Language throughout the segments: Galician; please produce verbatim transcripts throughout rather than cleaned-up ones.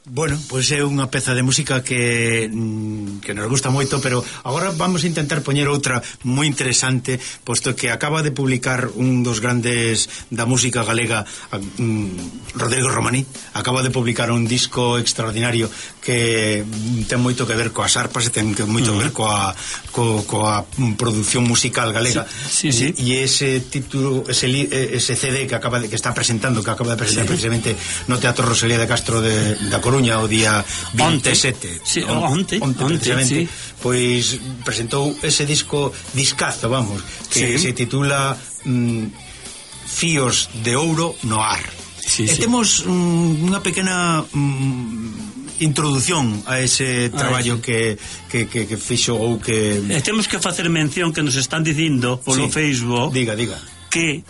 Bueno, pois é unha peza de música que que nos gusta moito, pero agora vamos a intentar poñer outra moi interesante, posto que acaba de publicar un dos grandes da música galega, um, Rodrigo Romaní, acaba de publicar un disco extraordinario que ten moito que ver coas arpas e ten moito que ver coa, co, coa produción musical galega. Sí, sí, sí. E ese título, ese, ese C D que acaba de, que está presentando, que acaba de presentar, sí, precisamente no Teatro Rosalía de Castro de, da Coruña o día vinte e sete, sí, onte, onte, onte, precisamente, sí. Pois presentou ese disco discazo, vamos, que sí, se titula mm, Fíos de Ouro no Ar. Sí, e sí. Temos mm, unha pequena mm, introdución a ese traballo que, que, que, que fixo ou que... E temos que facer mención que nos están dicindo polo, sí, Facebook, diga, diga, que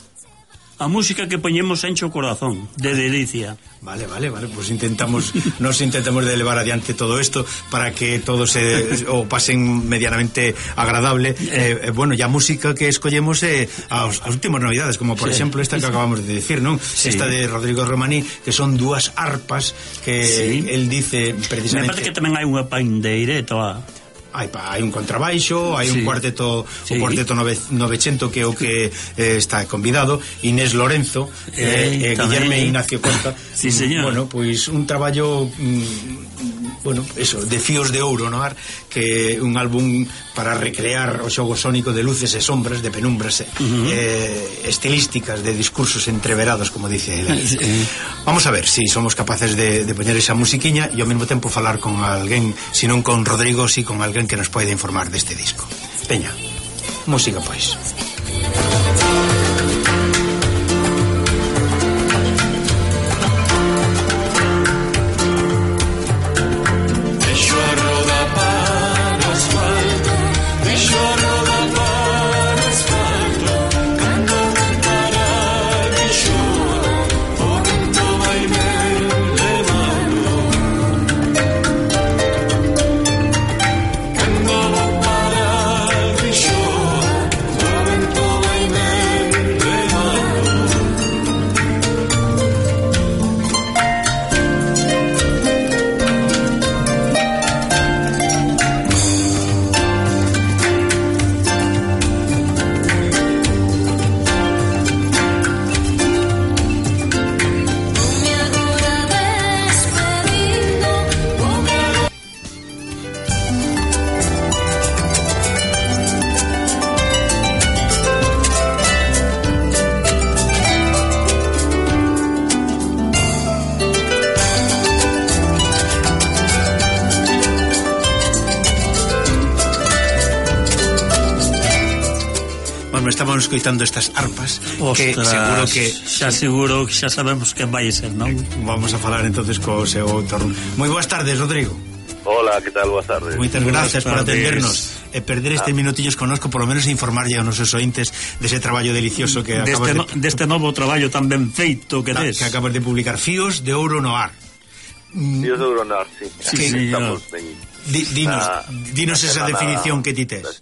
a música que poñemos enche o corazón de delicia. Vale, vale, vale, pues intentamos nos intentamos de elevar adiante todo esto para que todos se o pasen medianamente agradable. Eh, eh, bueno, ya música que escollemos é eh, as, as últimas novidades, como por sí, exemplo esta que acabamos de decir, ¿non? Sí. Esta de Rodrigo Romaní, que son dúas arpas que sí, él dice precisamente. Me parece que tamén hai unha pandeireta. Hai, hai un contrabaixo, hai sí, un cuarteto, sí, un cuarteto nove, novecento que é o que eh, está convidado, Inés Lorenzo, eh, eh, Guillermo Ignacio Conta. Sí, señor. Bueno, pois un traballo mm, bueno, eso, de Fíos de Ouro no Ar, que é un álbum para recrear o xogo sónico de luces e sombras, de penumbras, uh -huh, eh, estilísticas, de discursos entreverados, como dice él. Sí. Vamos a ver si somos capaces de, de poñer esa musiquiña e ao mesmo tempo falar con alguén, si non con Rodrigo, si con alguén que nos pode informar deste disco. Peña, música pois. Estamos escoitando estas arpas. Ostras, que seguro que xa seguro que xa sabemos quen vai ser, non? Vamos a falar entonces co seu autor. Moi boas tardes, Rodrigo. Hola, que tal? Boas tardes. Moitas gracias por atendernos e perder estes ah. minutillos connosco, por lo menos informarlle aos nosos ointes dese traballo delicioso que deste acabas no, de... deste novo traballo tan ben feito que tes. Que acabas de publicar, Fíos de Ouro no Ar. Fíos de Ouro no Ar, sí. Sí, sí, estamos en... Di, dinos, na, dinos na esa definición que ti tes.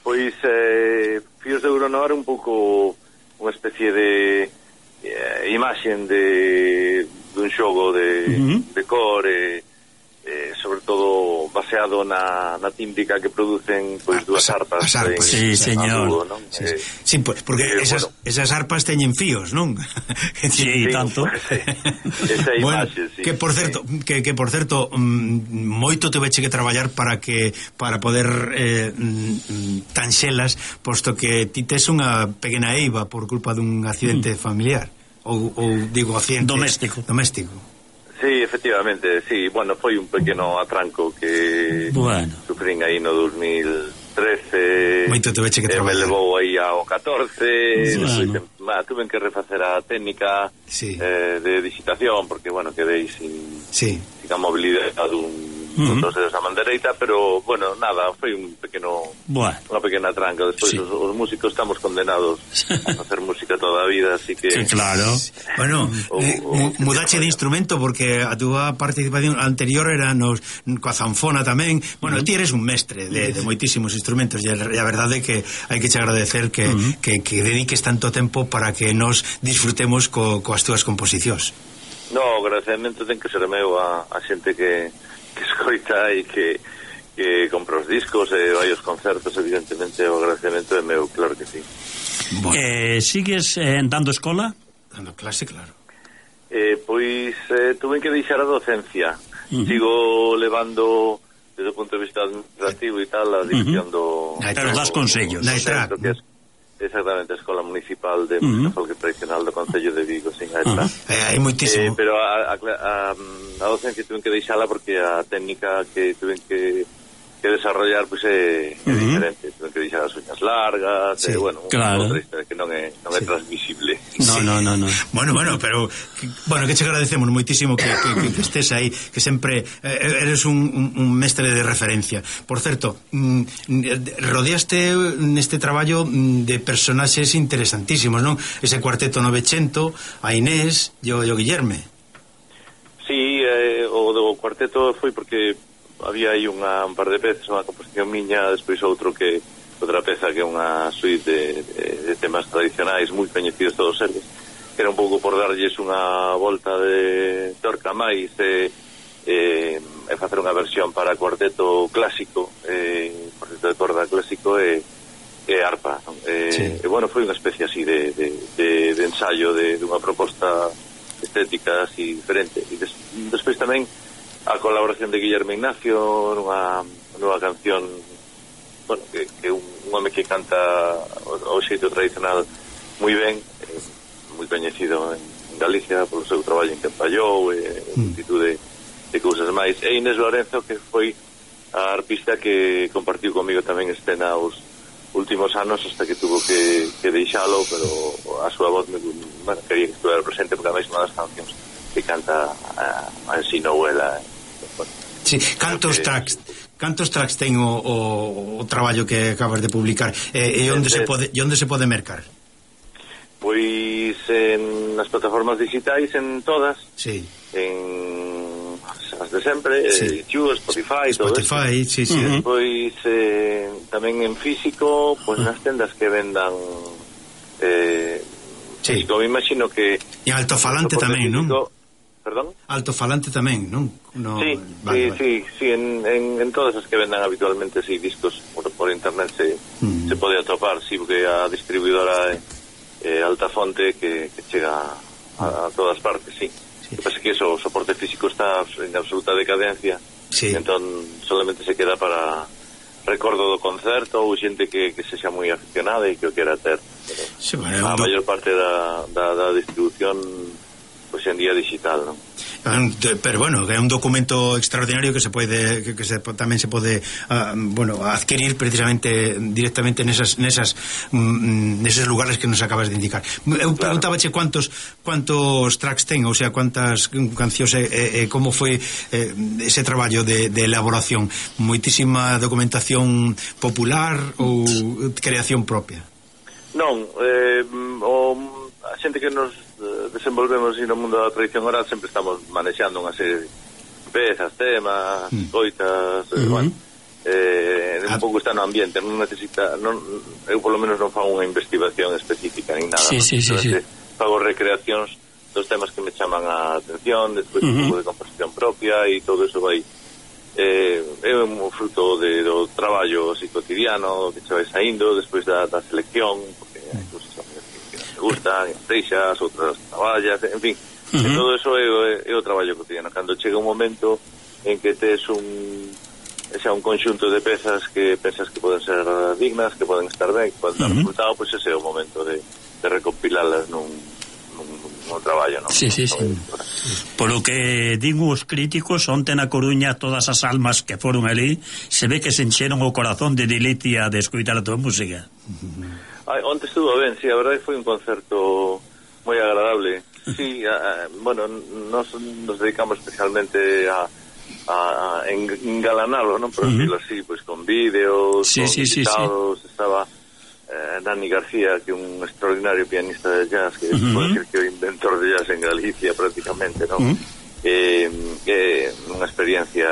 Pois eh, Fíos de Ouro no Ar un pouco unha especie de eh, imaxen de dun xogo de, uh -huh, de cor e eh, sobre todo baseado na, na tímbrica que producen pois dúas arpas. As arpas, sí, señor. Dúo, ¿no? Sí, eh, sí, pues, porque eh, esas, bueno, esas arpas teñen fíos, non? Sí, sí, tanto. Pues, sí. Esa imaxe, bueno, sí. Que por certo, sí. que, que por certo, mm, moito te veche que traballar para que para poder eh, mm, tanxelas, posto que ti tes unha pequena eiva por culpa dun accidente mm. familiar ou, ou digo accidente doméstico. Doméstico. Sí, efectivamente, sí, bueno, foi un pequeno atranco que bueno, sufrín aí no dos mil trece. Moito te veche que eh, me levou aí ao catorce, bueno, ma, tuve que refacer a técnica, sí, eh, de digitación, porque, bueno, quedei sin, sí, sin a mobilidade dun uh -huh. dos dedos a man dereita, pero, bueno, nada, foi un pequeno, bueno, unha pequena tranca. Despois, sí, os, os músicos estamos condenados a facer música toda a vida, así que... Sí, claro. Bueno, eh, mudache de instrumento, porque a túa participación anterior era nos, coa zanfona tamén. Bueno, uh -huh. ti eres un mestre de, de moitísimos instrumentos, e a, a verdade é que hai que che agradecer que, uh -huh. que, que dediques tanto tempo para que nos disfrutemos co, coas túas composicións. No, o agradecemento ten que ser meu a, a xente que, que escoita e que, que compra os discos e vai aos concertos, evidentemente o agradecemento é meu, claro que sí. Bueno. Eh, sigues eh, dando escola? Dando clase, claro. Eh, pois eh, tuve que deixar a docencia. Uh -huh. Sigo levando desde o punto de vista administrativo e tal a dirección uh -huh. do... Pero das consellos. Do centro, que é exactamente a Escola Municipal de Música uh -huh. Folk Tradicional do Concello de Vigo, sin a uh -huh. eh, hai moitísimo. Eh, pero a, a, a, a docencia tuve que deixala porque a técnica que tuve que que desarrollar pues é, é uh -huh. diferente, tuve que deixar as uñas largas, sí, e, bueno, claro. outra historia que non é, non é sí. transmisible. No, sí. no, no, no. Bueno, bueno, pero que, bueno, que che agradecemos moitísimo que, que, que estés aí, que sempre eh, eres un, un, un mestre de referencia. Por certo, mm, rodeaste neste traballo de personaxes interesantísimos, non? Ese cuarteto novecento, a Inés e o, o Guillerme. Sí, eh, o do cuarteto foi porque había aí unha, un par de peces, unha composición miña, despois outro que outra peza que é unha suite de, de, de temas tradicionais moi coñecidos todos eles, que era un pouco por darlles unha volta de torca máis e, e, e facer unha versión para cuarteto clásico, e, cuarteto de corda clásico e, e arpa, e, sí. e bueno, foi unha especie así de, de, de, de ensayo de, de unha proposta estética así diferente, e des, despois tamén a colaboración de Guillermo Ignacio nunha nova canción, bueno, que, que un, un home que canta o, o xeito tradicional moi ben, eh, moi coñecido en, en Galicia polo seu traballo en Campallou e eh, multitud de, de cousas máis, e Inés Lorenzo, que foi a arpista que compartiu comigo tamén escena os últimos anos hasta que tuvo que, que deixalo, pero a súa voz me, bueno, quería que estuviera presente porque a máis unha das cancións que canta a, a ensino ela. Bueno, sí, cantos que, tracks cantos tracks ten o, o, o traballo que acabas de publicar e, e onde se pode e onde se pode mercar? Pois en nas plataformas digitais, en todas, sí. En as de sempre, sí. YouTube, Spotify, Spotify, todo sí, sí. Uh -huh. Pois eh, tamén en físico, pois uh -huh. nas tendas que vendan eh, sí. Físico, me imagino que e altofalante tamén, físico, non? Perdón? Altofalante tamén, non? No, sí, vale, sí, vale. sí, sí, en, en, en todas as que vendan habitualmente sí, discos por, por internet se, mm. se pode atopar, sí, porque a distribuidora é eh, Altafonte que, que chega a, a todas partes, sí. Sí. Que pasa que eso, o soporte físico está en absoluta decadencia, sí. Entón solamente se queda para recordo do concerto ou xente que, que sexa moi aficionada e que o quera ter. Pero sí, bueno, a maior parte da, da, da distribución pois en día digital, non? Pero bueno, é un documento extraordinario que se pode que, que se, tamén se pode uh, bueno, adquirir precisamente directamente nesas nesas mm, neses lugares que nos acabas de indicar. Eu claro. Preguntábache cuántos cuántos tracks ten, ou sea, cuántas cancións e, e, e como foi eh, ese traballo de, de elaboración. Moitísima documentación popular ou creación propia? Non, eh, o a xente que nos desenvolvemos no mundo da tradición oral sempre estamos manexando unha serie de pezas, temas, mm. coitas, uh -huh. eh, bueno, eh, un pouco está no ambiente, non necesita, non, eu polo menos non fago unha investigación específica nin nada, sí, ¿no? sí, sí, sí. Fago recreacións dos temas que me chaman a atención, despois uh -huh. un pouco de composición propia e todo eso vai eh, é un fruto de, do traballo así cotidiano que che vai saindo despois da, da selección, porque hai cosas gustan, teixas, outras traballas, en fin, uh -huh. todo eso é, é o traballo cotidiano. Cando chega un momento en que tes un xa un conxunto de pezas que pensas que poden ser dignas, que poden estar ben, que poden dar uh -huh. resultado, pois pues ese é o momento de, de recopilalas nun, nun, nun traballo, non? Sí, sí, sí. Por lo que digo os críticos, onte na Coruña todas as almas que foron ali, se ve que se encheron o corazón de delicia de escoitar a tua música. Uh -huh. Ay, onte estuvo ben, sí, a verdade foi un concerto moi agradable. Sí, a, a, bueno, nos, nos dedicamos especialmente a, a, a engalanarlo, non? Por decirlo uh -huh. así, pues con vídeos, sí, con sí, invitados, sí, sí. Estaba eh, Dani García, que é un extraordinario pianista de jazz, que uh -huh. pode decir que é o inventor de jazz en Galicia prácticamente, non? Uh -huh. eh, eh, unha experiencia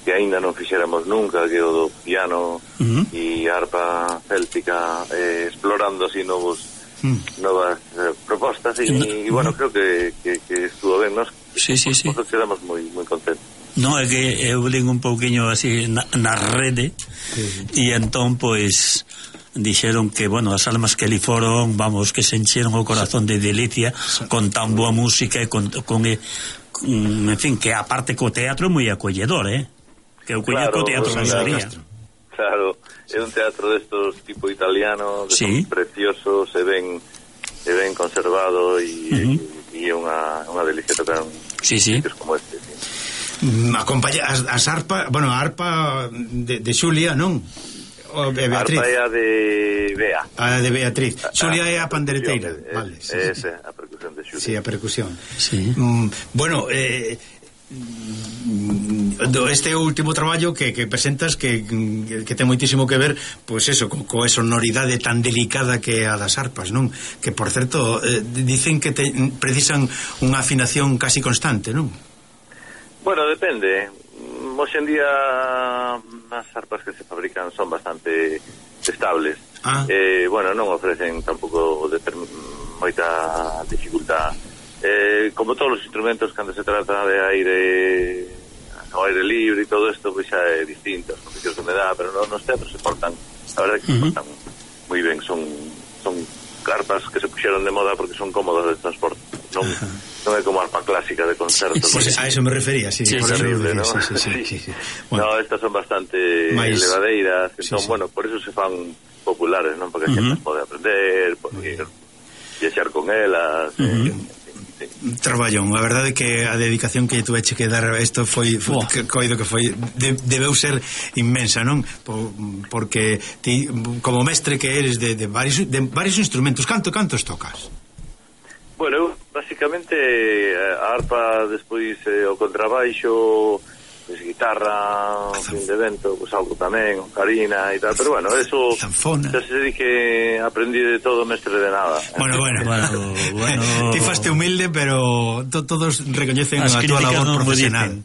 que aínda non fixéramos nunca, que o do piano uh -huh. e arpa céltica, eh, explorando así novos mm. novas eh, propostas e, no, e bueno, no. creo que, que, que estuvo ben, nos sí, sí, sí. quedamos moi moi contentos. No, é que eu lín un pouquiño así na, na rede e sí. entón, pois dixeron que, bueno, as almas que li foron, vamos, que se encheron o corazón de delicia con tan boa música e con, con, con en fin, que aparte co teatro é moi acolledor, eh? Que eu coñeco claro, o teatro San María. Claro, é un teatro destos tipo italiano, que sí. son preciosos, se ven se ven conservado e uh-huh. é unha, unha delicia tocar un sí, sí. como este, sí. Acompaña as, as arpa, bueno, a arpa de, de Xulia, non? O de Beatriz. A arpa é a de Bea. A de Beatriz. A, Xulia é a pandereteira. É, vale, sí, é sí. esa, a percusión de Xulia. Sí, a percusión. Sí. Mm, bueno, eh este último traballo que, que presentas que, que ten moitísimo que ver pois pues eso, co, co sonoridade tan delicada que a das arpas, non? Que por certo eh, dicen que te, precisan unha afinación casi constante, non? Bueno, depende. Hoxe en día as arpas que se fabrican son bastante estables. Ah. Eh, bueno, non ofrecen tampouco moita dificultad. Eh, como todos os instrumentos, cando se trata de aire ao aire libre e todo isto, pois xa é distinto, as condicións de humedad, pero no, nos teatros se portan, a verdade que uh-huh. se portan moi ben, son son carpas que se puxeron de moda porque son cómodas de transporte, non, uh-huh. non é como arpa clásica de concerto. Sí, sí, a eso me refería, sí, sí, por terrible, ¿no? Sí, sí, sí, sí, sí, sí. Bueno. No, estas son bastante Mais... levadeiras, entón, sí, sí. bueno, por eso se fan populares, non? Porque a xente uh-huh. pode aprender, pode viaxar con elas, uh-huh. eh, traballón, a verdade que a dedicación que tuveche que dar a isto foi, foi oh. que, coido que foi de, debeu ser inmensa, non? Por, porque ti, como mestre que eres de, de, varios, de varios instrumentos, canto cantos tocas? Bueno, eu basicamente a arpa, despois eh, o contrabaixo, pues, guitarra, un fin de vento, pues algo tamén, ocarina e tal, pero bueno, eso Zanfona. Ya se di que aprendí de todo, mestre de nada. Bueno, bueno, bueno, bueno. Ti faste humilde, pero to, todos recoñecen a túa labor no profesional.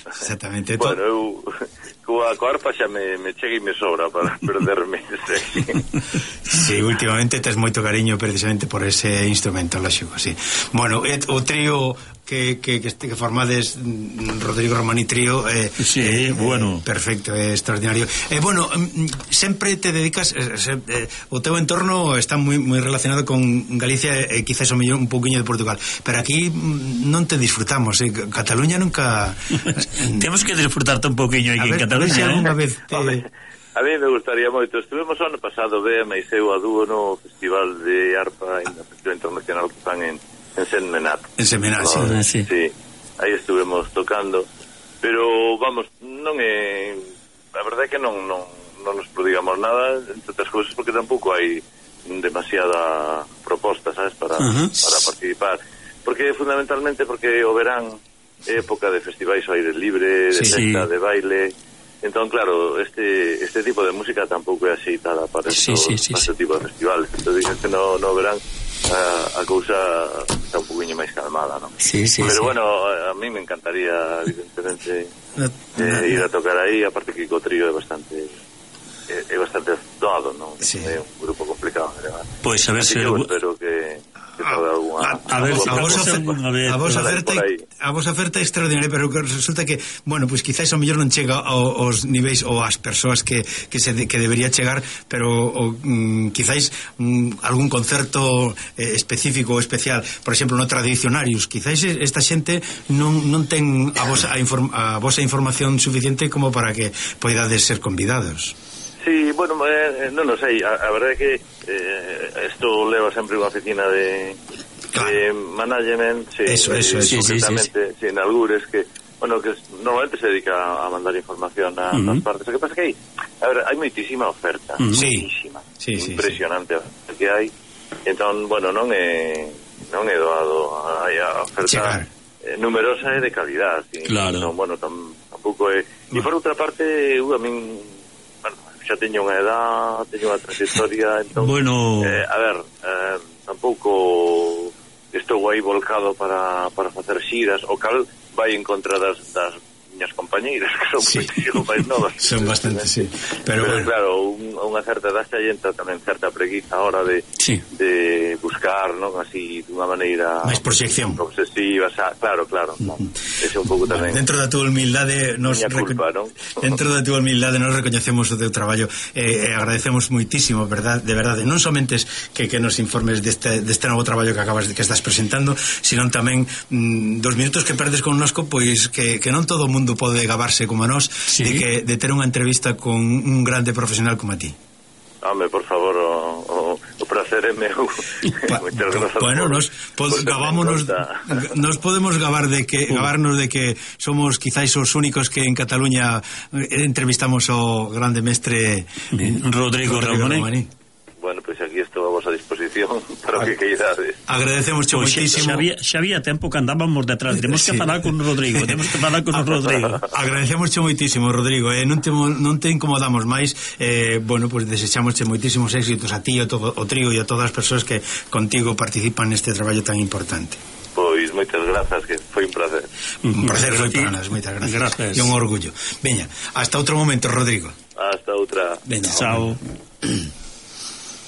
Exactamente. Bueno, eu coa arpa xa me, me chega e me sobra para perderme. Sí, últimamente tes moito cariño precisamente por ese instrumento, lógico, sí. Bueno, et, o trío que, que, que, que formades Rodrigo Romani Trío eh, sí, eh, bueno. Perfecto, é eh, extraordinario. Eh, bueno, sempre te dedicas eh, eh, o teu entorno está moi moi relacionado con Galicia e eh, quizás o mellor un pouquiño de Portugal, pero aquí non te disfrutamos, eh. Cataluña nunca temos que disfrutarte un pouquiño aquí en Cataluña, eh. Vez te... A mí me gustaría moito. Estuvemos ano pasado, Bea e eu a dúo no Festival de Arpa en o Festival Internacional que fan en en Senmenat. En Senmenat, no, sí. Sí, aí estuvemos tocando, pero vamos, non é, a verdade é que non non non nos prodigamos nada, entre outras cousas porque tampouco hai demasiada proposta, sabes, para uh-huh. para participar, porque fundamentalmente porque o verán é época de festivais ao aire libre, de sí, festa, sí. de baile. Entón, claro, este este tipo de música tampouco é axeitada para, sí, estos, sí, sí, para este tipo de festivales. Entón, dicen que no, no verán a, a cousa está un poquinho máis calmada, non? Sí, sí, pero sí. bueno, a, a mí me encantaría, evidentemente, no, no, eh, ir a tocar aí, aparte que o trío é bastante é, é bastante doado, non? Sí. É un grupo complicado, ¿verdad? Pois pues a ver se... Eu espero que... A, a, a, ver, a, vos oferta, a vos oferta a vos oferta extraordinaria, pero resulta que, bueno, pues quizás o mellor non chega aos niveis ou ás persoas que, que, se, que debería chegar, pero o, mm, quizás mm, algún concerto eh, específico ou especial, por exemplo no Tradicionarios, quizás esta xente non, non ten a vosa, a, inform, a vosa información suficiente como para que poidades ser convidados. Sí, bueno, eh, non o sei, a, a verdade é que eh, esto leva sempre unha oficina de, claro. de management, sí, eso, eso, sí, eso, sí, sí, sí. sí, en Algures, que, bueno, que normalmente se dedica a mandar información a uh-huh. as partes. O que pasa que hai, a ver, hai moitísima oferta, uh-huh. moitísima, sí, sí, impresionante sí, sí. que hai, entón, bueno, non é non é doado, hai a oferta eh, numerosa e de calidad, sí, claro. Non, bueno, tam, tampouco é, e por outra parte, eu a min, bueno, xa teño unha edad, teño unha trayectoria, entón, bueno... eh, a ver, eh, tampouco estou aí volcado para, para facer xiras, o cal vai en contra das, das miñas compañeiras, que son sí. moitísimo máis novas. Son bastante, sí. Pero, Pero bueno. claro, un, unha certa edad xa entra tamén certa preguiza a hora de, sí. de buscar, non? Así, dunha maneira... máis proxección. Obsesiva, xa, claro, claro. No? Ese é un pouco tamén... Bueno, dentro da túa humildade... Nos culpa, non? Dentro da túa humildade nos recoñecemos o teu traballo e eh, agradecemos moitísimo, verdad, de verdade, non somente que, que nos informes deste, deste novo traballo que acabas de, que estás presentando, sino tamén mm, dos minutos que perdes con nosco, pois que, que non todo o mundo pode gabarse como nós, sí. de, que, de ter unha entrevista con un grande profesional como a ti. Home, por favor, o, o, o placer é meu. Pa, bueno, nos pod, gavámonos, nos podemos gabar de que uh. gabarnos de que somos quizáis os únicos que en Cataluña entrevistamos ao grande mestre Rodrigo, Rodrigo Ramoní. Ramoní. Bueno, pois pues aquí estou a vosa disposición para o que queirades. Agradecemos pues moitísimo. Xa había, xa había tempo que andábamos detrás. Temos que sí. falar con Rodrigo, temos que falar con o Rodrigo. Agradecemos moitísimo, Rodrigo, eh, non te non te incomodamos máis. Eh, bueno, pues desexamos moitísimos éxitos a ti, a todo o trío e a todas as persoas que contigo participan neste traballo tan importante. Pois moitas grazas, que foi un placer. Un placer foi para nós, moitas gracias. Gracias. E un orgullo. Veña, hasta outro momento, Rodrigo. Hasta outra. Veña, chao.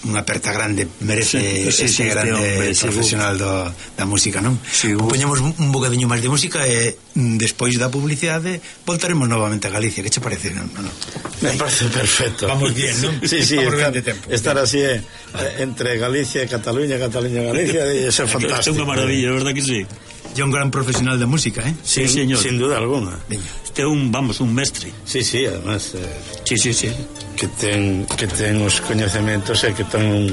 Unha aperta grande merece sí, sí, ese sí, grande hombre, profesional do, da música, non? Sí, poñemos un bocadiño máis de música e despois da publicidade voltaremos novamente a Galicia. Que che parece? Non, non? Me parece perfecto. Vamos bien, non? Sí, sí, vamos estar, bien de tempo. Estar así eh, entre Galicia e Cataluña, Cataluña e Galicia, é ser fantástico. É unha maravilla, verdad que sí? É un gran profesional da música, eh? Sí, sí, señor. Sin duda alguna. Este é un, vamos, un mestre. Sí, sí, además eh, sí, sí, sí. que ten que ten os coñecementos e que ten un